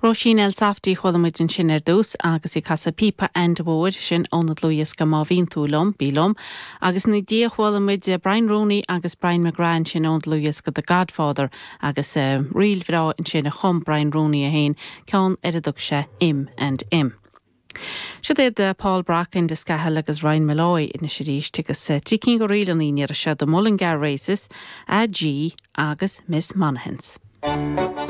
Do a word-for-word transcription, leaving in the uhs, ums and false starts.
Róisín Elsafty chuala muid ansin ar dtús agus í ag casadh píopa Enda Mhóir sin óna dlúthdhiosca Má Bhíonn Tú Liom, Bí Liom, agus ina dhiaidh chuala muid Brian Rooney agus Brian McGrath sin ón dlúthdhiosca The Godfather agus uh, ríl bhreá ansin a chum Brian Rooney a haon ceann ar a dtug sé Im and Im. Siod iad Paul Brock Enda Scahill agus Ryan Malloy anois arís agus trí cinn de ríleanna ar seo The Mullingar Races, A G agus Miss Monahans.